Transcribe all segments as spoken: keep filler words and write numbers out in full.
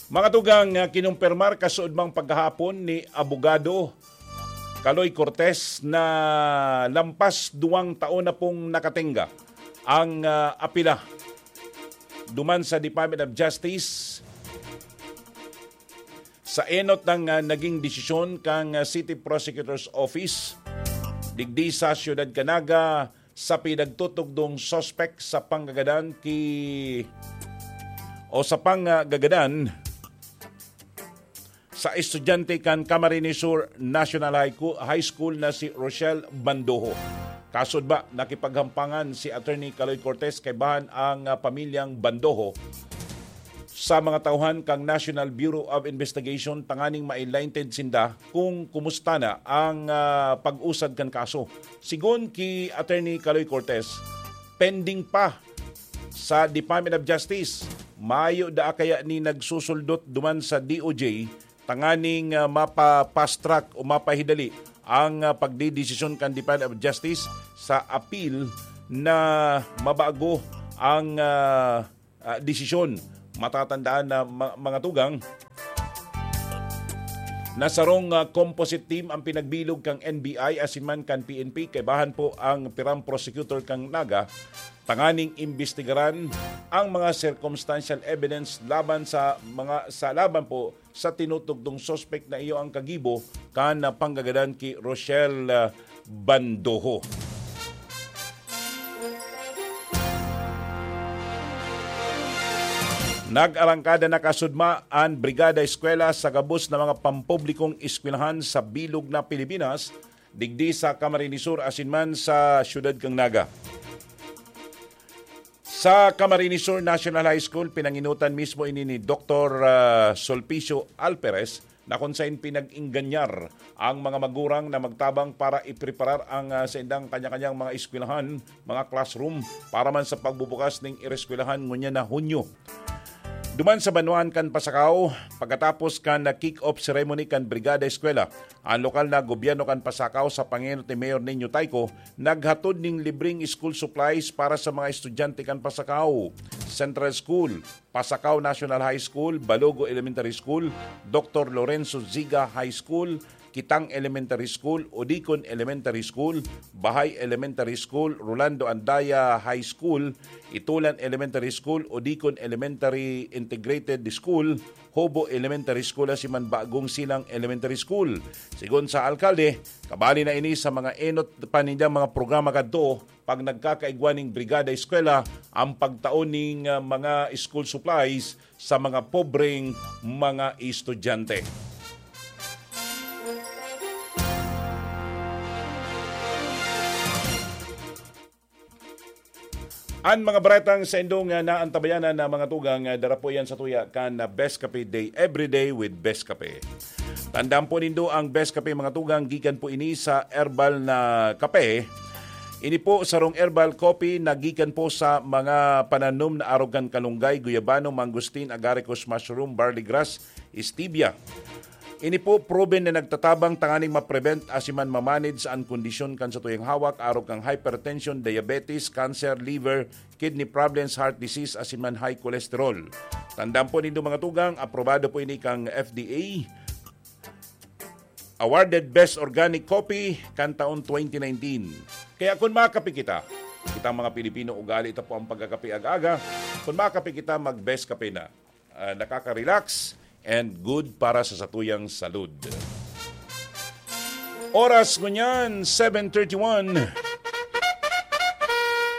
Mga tugang, ah, kinumpirmar kasuodmang paghahapon ni Abogado Caloy Cortez na lampas duwang taon na pong nakatenga ang, ah, apila duman sa Department of Justice sa enot ng, ah, naging desisyon kan, ah, City Prosecutor's Office digdi sa Siyudad kan Naga sa pinagtutugdong suspek sa panggagadan ki, o sa panggagadan sa estudyante kan Camarines Sur National High Cu-, High School na si Rochelle Bandoho. Kasod ba, nakipaghampangan si Attorney Caloy Cortez kaibahan ang, ah, pamilyang Bandoho sa mga tauhan kan National Bureau of Investigation tanganing ma-enlightened sinda kung kumusta na ang, ah, pag-usad kan kaso. Sigon ki Attorney Caloy Cortez, pending pa sa Department of Justice. Mayo daa kaya ni nagsusuldot duman sa D O J tanganing, ah, mapa-fast track o mapahidali ang, ah, pagdedesisyon kan Department of Justice sa appeal na mabago ang, ah, ah, desisyon. Matatandaan na ma-, mga tugang, na sarong, ah, composite team ang pinagbilog kan N B I asin man kan P N P, kaibahan po ang pirang prosecutor kan Naga, tanganing imbestigaran ang mga circumstantial evidence laban sa mga, sa laban po sa tinutugdong suspek na iyo ang kagibo kan, ah, panggagadan ki Rochelle, ah, Bandoho. Nag-arangkada na kasudma an Brigada Eskwela sa gabos na mga pampublikong eskwelahan sa bilog na Pilipinas, digdi sa Camarines Sur asin man sa siyudad kan Naga. Sa Camarines Sur National High School, pinanginutan mismo ini ni Doktor, ah, Sulpicio Alperes, na kung sain pinag-ingganyar ang mga magurang na magtabang para ipreparar ang, ah, saindang kanya-kanyang mga eskwelahan, mga classroom, para man sa pagbubukas ning ireskwelahan ngunyan na Hunyo. Duman sa banwaan kan Pasacao, pagkatapos kan kick-off ceremony kan Brigada Eskwela, ang lokal na gobyerno kan Pasacao sa pangenot ni Mayor Nino Tayco naghatod ning libreng school supplies para sa mga estudyante kan Pasacao Central School, Pasacao National High School, Balogo Elementary School, Doctor Lorenzo Ziga High School, Kitang Elementary School, Odicon Elementary School, Bahay Elementary School, Rolando Andaya High School, Itulan Elementary School, Odicon Elementary Integrated School, Hobo Elementary School, asin man Bagong Silang Elementary School. Sigon sa alkalde, kabali na ini sa mga enot pa nindang mga programa kadto pag nagkakaigwa ning Brigada Eskwela ang pagtao ning, ah, mga school supplies sa mga pobreng mga estudyante. An mga baretang saindong, ah, naantabayanan na mga tugang, ah, dara po yan sa tuya kan, ah, Best Kape Day, Everyday with Best Kape. Tandaan po nindo ang Best Kape, mga tugang, gikan po ini sa herbal na kape. Ini po sarong herbal coffee na gikan po sa mga pananom na arog kan kalunggay, guyabano, mangosteen, agaricus, mushroom, barley grass, stevia. Ini po proven na nagtatabang tanganing ma-prevent asin man ma-manage an kondisyon kan satuyang hawak, arog kan hypertension, diabetes, cancer, liver, kidney problems, heart disease, asin man high cholesterol. Tandaan po nindo, mga tugang, aprobado po ini kan F D A. Awarded Best Organic Coffee kan taon twenty nineteen. Kaya kun makape kita, kitang mga Pilipino, ugali ta po ang pagkakape aga-aga. Kun makape kita, mag-Best Kape na. Ah, nakaka-relax and good para sa satuyang salud. Oras ngunyan, seven thirty-one.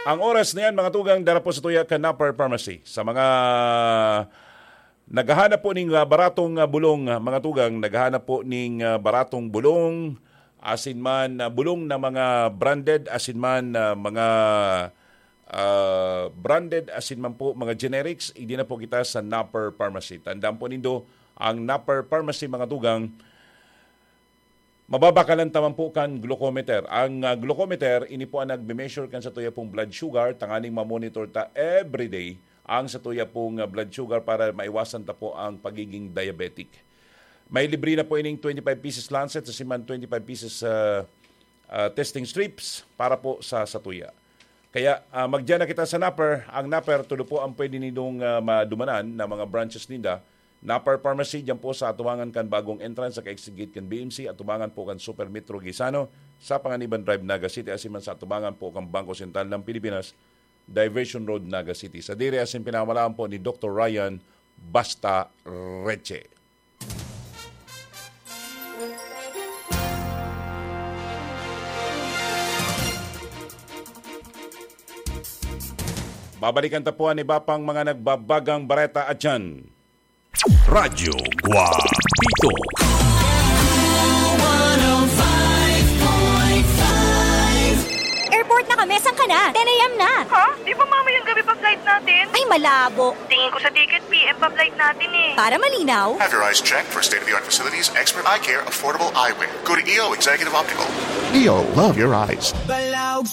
Ang oras na yan, mga tugang, dara po sa tuya kan Napper Pharmacy. Sa mga naghahanap po ning, ah, baratong, ah, bulong, ah, mga tugang, naghahanap po ning, ah, baratong bulong, asin man, ah, bulong na mga branded, asin man, ah, mga, ah, branded, asin man po mga generics, idi na po kita sa Napper Pharmacy. Tandaan po nindo, ang Napper Pharmacy, mga tugang, mababakalan ta man po kan glucometer. Ang, ah, glucometer, ini po ang nagme-measure kan satuya pong blood sugar, tanganing ma-monitor ta everyday ang satuya pong, ah, blood sugar para maiwasan ta po ang pagiging diabetic. May libre na po ining twenty-five pieces lancet, asin man twenty-five pieces, ah, ah, testing strips para po sa satuya. Kaya, ah, magdiyan na kita sa Napper. Ang Napper, tulo po ang pwede nindong, ah, madumanan na mga branches ninda. Napar Pharmacy, diyan po sa atubangan kan bagong entrance sa ka-exit gate kan B M C, atubangan po kan Super Metro Gaisano, sa Panganiban Drive, Naga City, asin man sa atubangan po kan Bangko Sentral ng Pilipinas, Diversion Road, Naga City. Sadiri asin pinamalaan po ni Doktor Ryan Basta Reche. Babalikan ta po an iba pang mga nagbabagang bareta at dyan. Radyo Guapito. Airport na kami, saan ka na? ten a.m. na. Ha? Di ba mamayang gabi pa flight natin? Ay, malabo. Tingin ko sa ticket, P M pa flight natin eh. Para malinaw, Have your eyes checked for state-of-the-art facilities, expert eye care, affordable eyewear. Go to E O Executive Optical. E O, love your eyes. Balaog